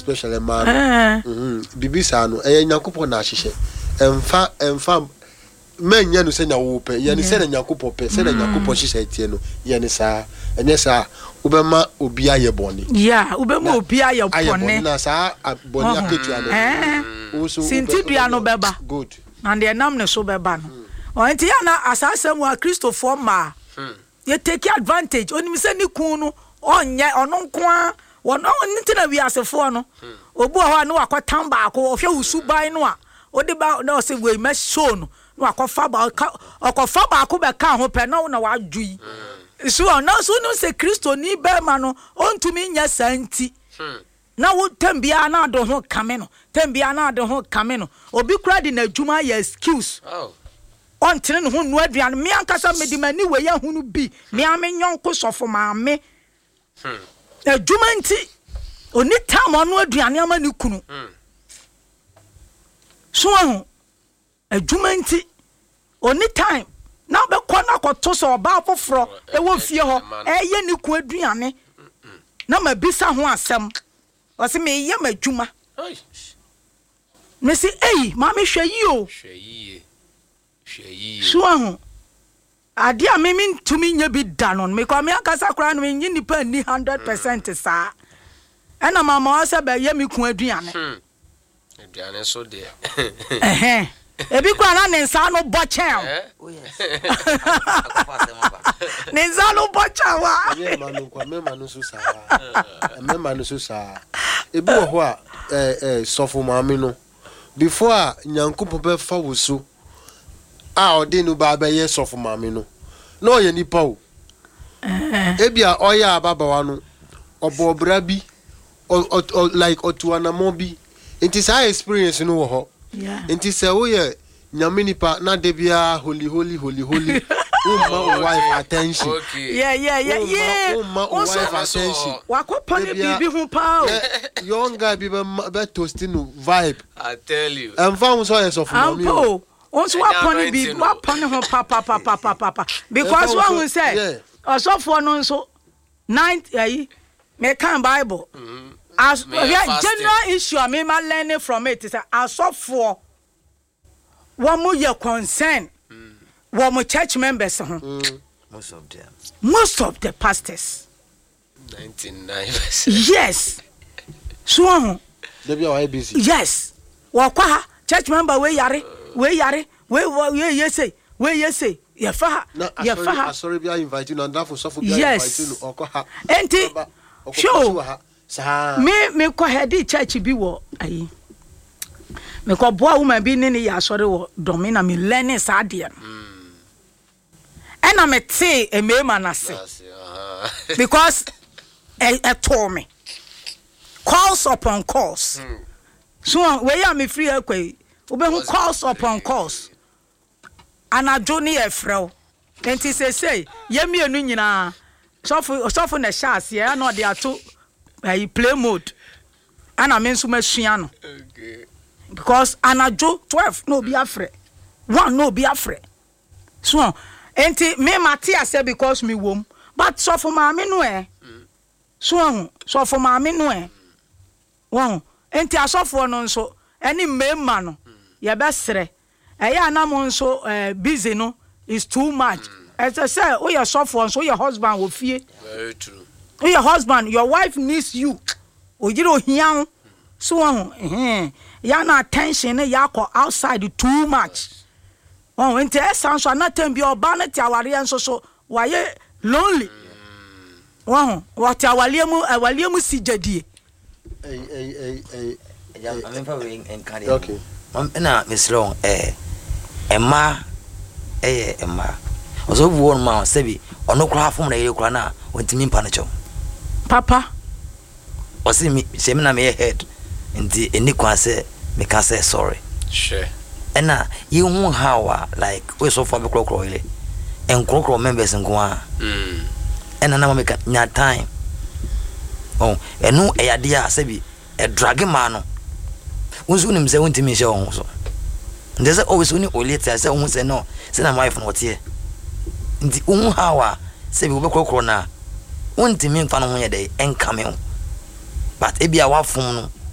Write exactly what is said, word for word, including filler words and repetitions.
Especially mmaa no. Eh. Mhm. Biribi saa no, ɛyɛ Nyankopɔn na ahyehyɛ. Ɛmfa ɛmfa mɛnyɛ no sɛnea wo pɛ, yɛ no sɛnea Nyankopɔn pɛ, sɛnea Nyankopɔn hyehyɛ teɛ no, yɛ no saa. Ɛnyɛ saa a, wobɛma obi ayɛ bɔne. Yeah, wobɛma obi ayɛ Ayɛ bɔne bɔne. Na saa a- bɔne Ɔho. akatua no, Eh. wo nso wobɛ- Sintidua no wobɛnya. bɛba. Good. Na deɛ nam ne so bɛba no. Ɔ nti yɛ na asaasɛm mu a Kristofoɔ mmaa yɛ take advantage. Onim sɛ ne kun no ɔnyɛ ɔno nko ara wɔn ɔno nti na wiasefoɔ no, obi wɔ hɔ a ne wakɔtam baako, ɔhwɛ wo suban no a wode ba na ɔsɛ wei mɛ show no, na wakɔfa ba ɔka ɔkɔfa baako bɛka ho pɛ na wo na wadwo yi so. Ɔno nso wonim sɛ Kristoni bɛrima no ɔntumi nyɛ saa, nti na wo tɛm biara na ade ho kame no, tɛm biara na ade ho kame no. Obi kura de n'adwuma ayɛ excuse. Oh. Ɔntene ne ho nnua aduane. Me ankasa mede m'ani wei ahunu bi. Me a me nyɔnko sɔfo maame, adwuma nti oni tam ɔno aduane ama ne kunu so. Ahu adwuma nti oni time na bɛkɔ na akɔto sɛ ɔbaa foforɔ ɛwɔ fie hɔ ɛyɛ ne kun aduane, na mabisa ho asɛm, ɔsɛ meyɛ m'adwuma. Ai. Mesi eyi, maame, hwɛ yi o. Hwɛ yie. Hwɛ yie. So ahu adeɛ a mimi ntumi nyɛ bi da no, mekɔ me ankasa koraa no, menye nipa nni hundred percent saa, ɛna mama wa sɛ bɛyɛ me kun aduane. Hmm. Aduane so deɛ. Ɛhɛn, ebi koraa na ne nsa no bɔ kyɛn. Eh? Oh yes. Akɔfa asɛm aba. Ne nsa no bɔ kyɛn wa. Ɛnyɛ mma no nko a, mmarima no nso saa, mmarima no nso saa. Ebi wɔ hɔ a ɛɛ ɛɛ sɔfo maame no, before a Nyankopɔn bɛfa wo so a ɔde no ba abɛyɛ sɔfo maame no, na ɔyɛ nipa o. Ebi a ɔyɛ ababaawa no, ɔbɔ ɔbra bi, ɔ ɔ ɔ like ɔtu anamɔ bi, nti saa experience no wɔ hɔ. Yeah. Nti sɛ woyɛ Nyame nipa na de biara holy holy holy holy, womma wo wife attention. Okay. yeah yeah yeah Womma yeah womma wo Wo nso wife attention. Wakɔpɔ ne Ebia- biribi ho paa o. Ɛ, young guy bi bɛ bɛ toast no vibe. I tell you. Ɛnfa ho sɛ ɔyɛ sɔfo maame Ampa o. o, wo nso Ɛnyɛ wapɔ ne anointing biribi o. wapɔ ne ho papapapapapa because Ɛfa wo wahu so- sɛ yeah. ɔsɔfoɔ no nso nine ayi mekan Bible as Meyɛ hwɛ fasting. general issue a mema learning from it sɛ asɔfoɔ wɔn mo yɛ concern wɔn mo church members ho. Most of them. Most of the pastors. Ninety-nine percent. Yes, so wɔn ho. Dabi a wayɛ busy. Yes, wɔkɔ ha, church member wei yare, wei yare, wei wɔ wei yɛ sei, wei yɛ sei, yɛfa ha, Na yɛfa asɔre ha. Asɔre bi a invite no, andafo sɔfo bi a Yes. invite no, ɔkɔ ha. Enti, Ɔba, ɔkɔ hwɛ o. preach wɔ ha saa. Me mekɔ head church bi wɔ ayi, mekɔ boa woman bi ne ne yɛ asɔre wɔ Dɔme, na me learn saa adeɛ no, ɛna metee mmarima no ase because ɛ ɛtoo me calls upon calls. So wei a mefiri akɔ yi, wobɛhu calls upon calls, anadwo ne yɛ frɛ wo. Nti sesei yɛn mmienu nyinaa, sɔfo sɔfo na ɛhyɛ aseɛ, ɛna ɔde ato ɛyi play mode, ɛna me nso masua no Okay. because anadwo twelve na obi afrɛ, one na obi afrɛ. So nti me ma te aseɛ because me wom, but sɔfo maame no ɛ so ɔho sɔfo maame no ɛ wɔn. Nti asɔfoɔ no nso ɛne mmarima no, yɛbɛsrɛ, ɛyɛ anam nso ɛɛ busy no is too much. Ɛsɛ sɛ woyɛ sɔfoɔ nso, woyɛ husband wɔ fie. Very true. Woyɛ husband, your wife needs you. Oyere ohia wo so wɔn ho ya na attention ne yɛ akɔ outside too much wɔn. Nti ɛsa nso anatam bi ɔbaa no te awareɛ nso so wayɛ lonely wɔn ho, wɔte awareɛ mu, awareɛ mu si gyadie. Ɛy ɛy ɛy ɛy. Ɛgya, maame wei nka deɛ. Okay. Mam- ɛna mesrɛ wo, ɛɛ mmaa, ɛyɛ mmaa ɔsɛ obi wɔ no ma sɛbi ɔno koraa fom na yere koraa na ɔntumi mpa no kyɛw. Papa. Ɔse me sɛ me na meyɛ head, nti ɛni kwan sɛ meka sɛ sorry. Hwɛ. Ɛna yɛhu how a like woyɛ sɔfo a bɛkorɔkorɔ yere, nkorɔkorɔ members nko a. Mm. Ɛna na meka nya time ɔ ɛno ɛyɛ adeɛ a sɛbi ɛdrage maa no. Wo nso wonim sɛ wontumi nhyɛ wo ho so, nti sɛ always wo ne olie te a sɛ wohu sɛ no sɛ na wife no ɔteɛ, nti wohu how a sɛbi wobɛkorɔkorɔ no a wontumi mfa no ho yɛ dɛ ɛnkame wo, but ebi a wafom no.